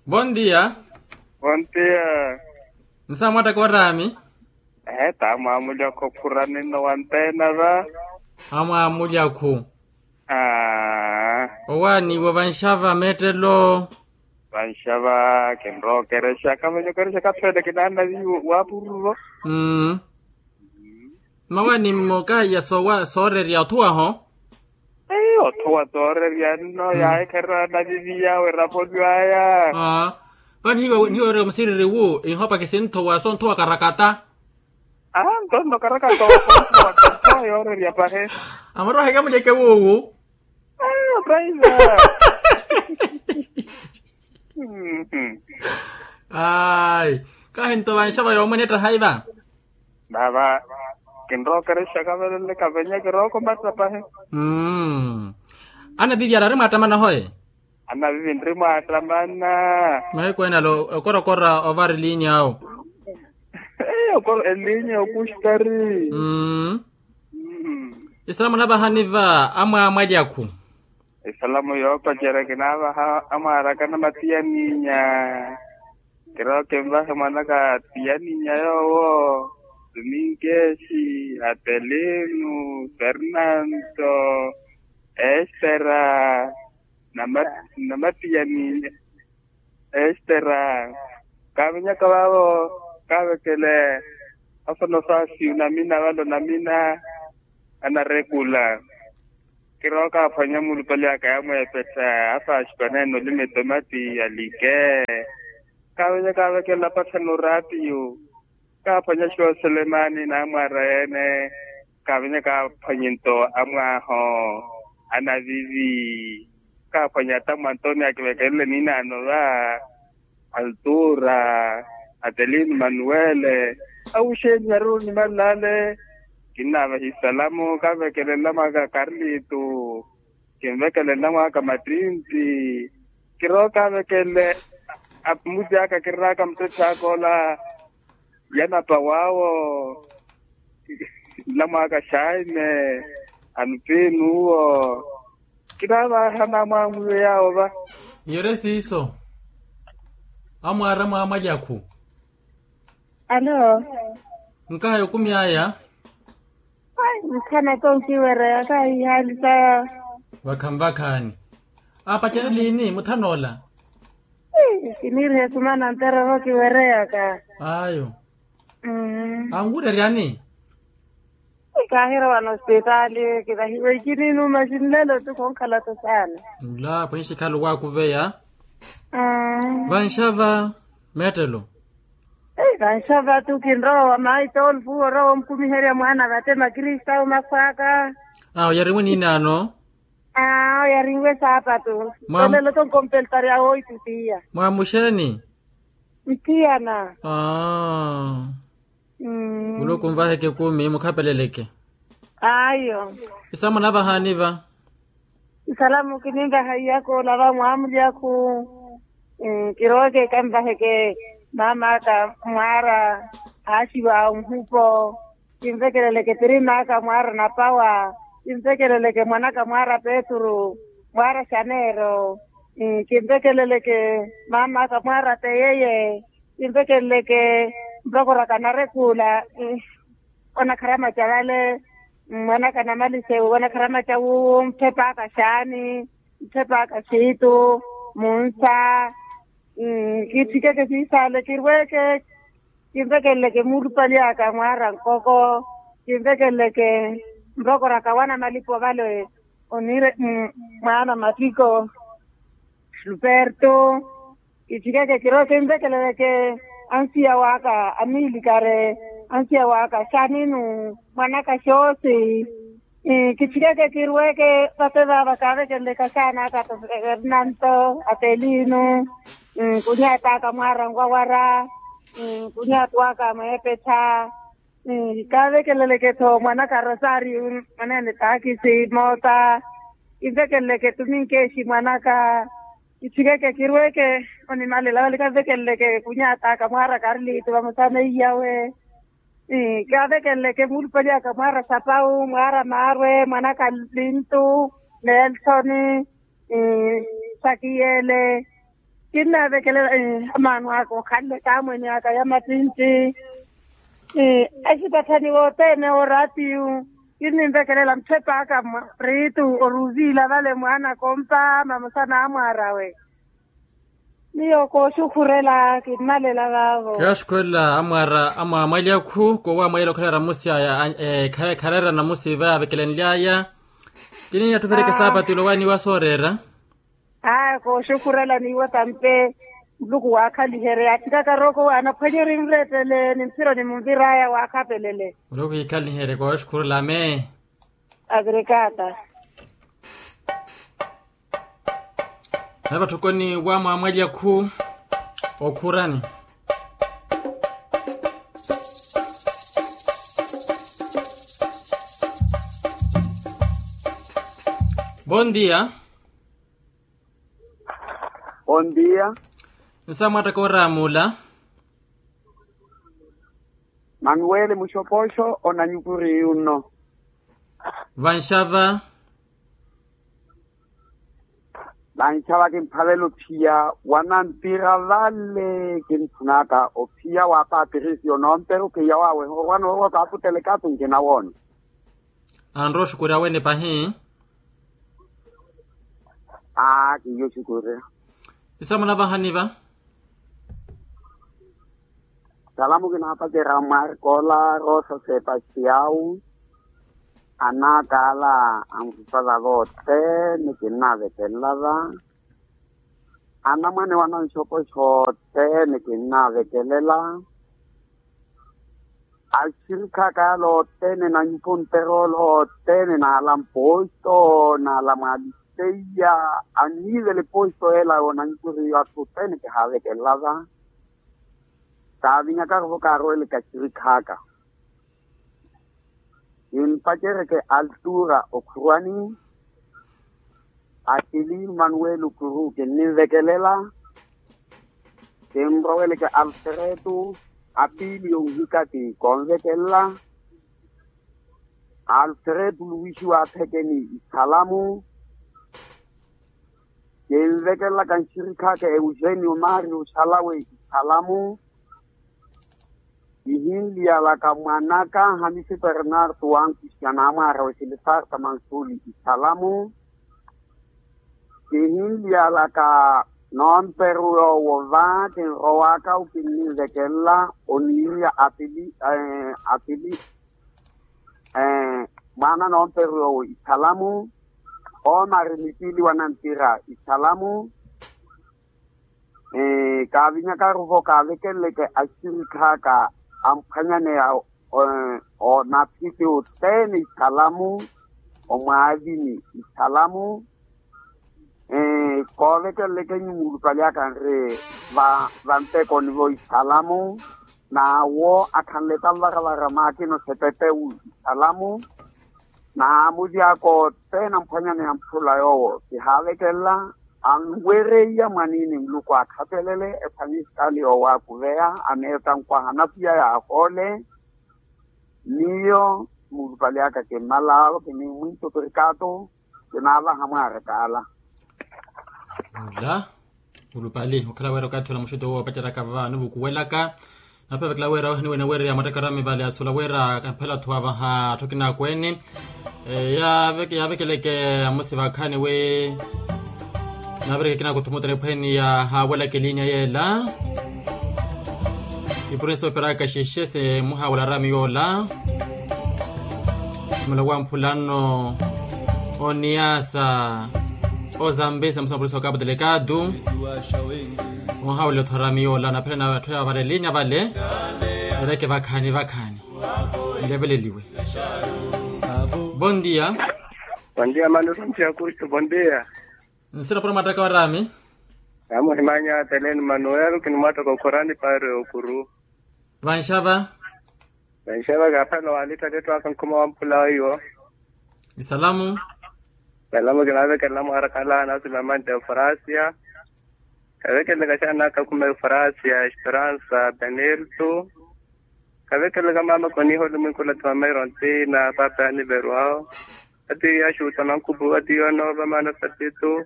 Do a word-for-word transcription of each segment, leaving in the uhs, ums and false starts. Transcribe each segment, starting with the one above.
Bondia. Bondia. Nsamwatta koraami. Ehe tamwamulya khophurani nno wantena va. Amwamulya khu. Aa. Owaaniwa vanxava mettelo. Vanxava kinrookerexa kamenyokerexa kaphele kinaana viyu waapururo. Mmm. Mmawaani mmoka ya soorerya othuwaho. Othuwa soorerya nno yaahikhererya naviviya werapolyo aya. Vano nihiwererya omusiriri wu ihopa kisinthuwa sonthuwa karakata. Aa ntonno karakata. Othuwa yoorerya pahe. Amurooheke amulyeke wuwu. Ayo kaiza. Ayi. Kahinto vanxava yoomwene ettahaiva. Vava kinrookerexa kavelele kavenye kirookomatta pahi. Mmm. Anavivi araari mwaattamana hoye. Anavivi nri mwaattamana. Mahiku enalo okorokora ovari linya awo. Elinya okuxtari. Mmm. Isalamu navahani va amwaamwalyakhu. Isalamu yoopacerya kinaavaha amwaaraka na matiyaninya. Kirooke nvahe mwanaka tiyaninya yoowo. Tuminkeshi, atelinu, fernanto, estera, na matiyaninya. Estera. Kaavinyaka vaavo kaavekele. Afonosasi namina valo namina. Anarekula. Kirooka aphwanya mulupale aka yamweepettha. Afaxipana ene olima etomati alike. Kaavinyaka avekelela apathana oraatiyo. Kaaphwanya xooselemani n'amwaara ene. Kaavinyaka aphwanye nto amwaaho. Anavivi. Kaaphwanya ata mwanto ni akivekelele niinaano va. Altura, atelino manuwele. Awuxeeni ari onimalale. Kinnaavahi salamu kaavekelele namwaka karlito. Kinvekelele namwaka mattintti. Kirooka kaavekelele. Amuti aka kirraaka muttetthaaka ola. Yanapa waawo. Nlamwaaka xaime. Anupinu uwo. Kinaavahana amwaamwiwe yaawo va. Yere siiso. Amwaara mwaamwalyakhu. Alo. Nkaha yokumi aya. Mphana tonkiwereya kahihaali saya. Vakhanvakhani. Apacene liini muthanoola. Kiniirihe sumana ntereryo kiwereyaka. Ayo. Anwuureryani. Kaahira wano osipitaali kinahiwa ikininuuma xinlelo tu khonkhala tu saana. Nla pwenxikhala owaakuveya. Vanxava meettelo. Vanxava tu kinrowa mayi tolfu orowa omukumiherya mwaana vattema kristawu makhwaka. Awo yarinwe niinaano. Awo yarinwe saapatu. Tolelo tonkompeltarya woitutiya. Mwamuxeeni. Ntiyana. Muluku nvaheke ekumi mukhapeleleke. Ayo. Isalamu navahaani va. Isalamu kininvaha iyaka olava mwaamulyakhu. Kirooke kanvaheke maam'aka mwaara. Haaxiwa nhupo. Kinvekeleleke pirim'aka mwaara napawa. Kinvekeleleke mwan'aka mwaara petru. Mwaara xaneero. Kinvekeleleke maam'aka mwaara teyeye. Kinvekeleleke nrokoraka narekula. Onakharama ca vale. Mwan'aka namalixe onakharama ca wuwu mphepaaka xaani. Mphepaaka xiitu. Munsa. Kitthikheke siisaale kirweeke. Kinvekeleleke muulupali aka mwaara nkoko. Kinvekeleleke nrokoraka wana malipo vale. Oniire mwaana mattiko. Luperto. Kitthikheke kirooke kinvekeleleke. Ansiya waka amiilikare. Ansiya waka xaninu. Mwanaka xoosi. Kitthikheke kirweeke vate vaava kaavekeleleke axaana aka fernanto. Atelino. Nkunyaata aka mwaara nwawara. Nkunyaatu aka mweepettha. Kaavekeleleke-tho mwanaka rosario. Mwaneene taakisi moota. Kinvekeleleke tuminkeexi mwanaka. Kitthikheke kirweeke. Onimalela vale kanvekeleleke kunyaata aka mwaara karlito vamosa na iyawe. Kaavekeleleke muulupali aka mwaara sapawu mwaara maarwe mwanaka lintu. Nelsoni. Sakiyele. Kinnaavekelela amaano aka okhanle taamwene aka ya mattintti. Asitathani wothene oraatiyu kinninvekelela mutthep'aka mwa riitu oruziila vale mwaana kompa mamosa n'amwaar'awe. Miyo kooxukhurela kimmalela vaavo. Kiyaaxukhurela amwaara amwaamwalya khu koowamwalya okhala eramusi aya. Khareera namusi vaavekelenly'aya. Kiniya ttuvereke saapati olowa niiwa sooreera. Aa kooxukhurela niiwa tampe. Muluku waakhaliherye atthikaka rooko waanaphwanyerye nrettele ni mphiro nimunvir'aya waakhapelele. Muluku iikhaliherye kooxukhurela ame. Avirikata. Nave vatthokoni wa mwaamwalya khu okhurani. Bondia. Bondia. Nsa mwaattaka oraamula. Manuweli muxopoxo onanyukuriyu nno. Vanxava. Vanxava kimphavela ophiya wanantira vale kintthunaka ophiya wa patirisiyo noomperu khiya wawe orwa noorwa okaaputele katunci nawoona. Anrowa oxukurya wene pahi. Aa kiiyo oxukurya. Isalamu anavahaniva. Salamu kinaapacerya mwarikola rosa sepastiyau. Anakala anvupala vothene kinnavekelela va. Anamwane wananxopo xothene kinnavekelela. Axirikha aka yala othene na nyupo nterolo othene na ala mposto na ala mwaliseiya. Anniivela eposto ela onanyukuriyo atthu othene kihaavekelela va. Kaavinyakaru vo kaaroweleke axirikha aka. Kimpacereke altura okhurwani. Atili manuweli okuru kinninvekelela. Kinroweleke alfretu apili yonhikati konvekelela. Alfretu luwixi wa aphekeni isalamu. Kinvekelelaka nxirikhaka eugenio mario xalawe isalamu. Kihinliyalaka mwanaka hamisi bernardo wankuxi anaamwaarawe silisarta mansuli isalamu. Kihinliyalaka noomperu yoowo va kinrowaka okinninvekelela oniiya apili apili. Mwaana noomperu yoowo isalamu. Omari mipili wanantira isalamu. Kaavinyakaru vo kaavekeleleke axirikha aka amphwanyaneya. Onaphiti othene isalamu omwaavini isalamu. Koovekeleleke nyuwo mulupale aka nri vantekoni vo isalamu. N'awo akhanle tanvaravara maakina osepepewu isalamu. N'amulyaka othene amphwanyaneya mphula yoowo kihaavekelela. Anwereiya mwaniini muluku aakhavelele ephwanya esitaali yoowakuveya aneeta nkwaha anapiya yaahoole. Miyo mulupale aka kimmalaalo kinimwinto pirikaato. Kinaavaha mwaarakaala. Ola mulupale okhala wira okathi ola muxuto owo opaceraka vava nivukuwelaka. Naphevekela wira ohaniwene wira yamwattaka orami vale asula wira kaphela atthu avaha atthu akinakweene. Yaavekeleke amosi vakhani wi naavireke kinakuthumutana ephweeni ya haawelaka elinya yeela. Ipurensi operaka xexe se muhaawela arami yoola. Mula wa mphula nno oniasa ozambisa musa mupurisa wa kapu delegado. Onhaawela otho arami yoola naphela na atthu yaavarelinya vale. Ereke vakhani vakhani nleveleliwe. Bondia. Bondia mano bondia kustu bondia. Nsina pura mataka warami. Namuhimanya teleni manuel kinimwataka okhorani pari okuru. Vanxava. Vanxava kaphela walittate etthu aka nkhuma wa mphula weiwo. Isalamu. Isalamu kinavekelela mwarakala nasi mamante ofrasia. Kavekelela kaxana naka khuma ofrasia esperansa benelto. Kavekelela mama koniho lumwinkulati mama irontina papa yaniverwao. Ati yaxuta nankhupu ati yonoova maana sapitu.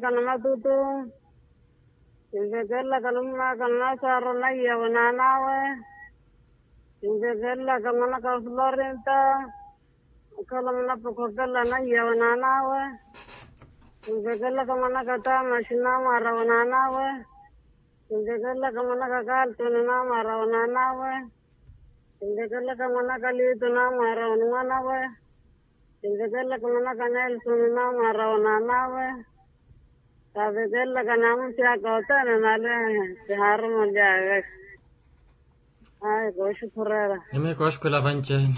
mwan'aka namatutu. Kinvekelelaka num'aka nanasaaro naiyawe naan'awe. Kinvekelelaka mwan'aka florinta. Okhala munapokhokelela naiyawe naan'awe. Kinvekelelaka mwan'aka tamaxi namwaarawe naan'awe. Kinvekelelaka mwan'aka kaltoni namwaarawe naan'awe. Kinvekelelaka mwan'aka liito namwaarawe ni mwan'awe. Kinvekelelaka mwan'aka nelsoni namwaarawe naan'awe. Kaavekelelaka namusi aka othene nale. Kihaarumoly'aya. Ayi kooxukhurela. Nimi kooxukhula vanci-ene.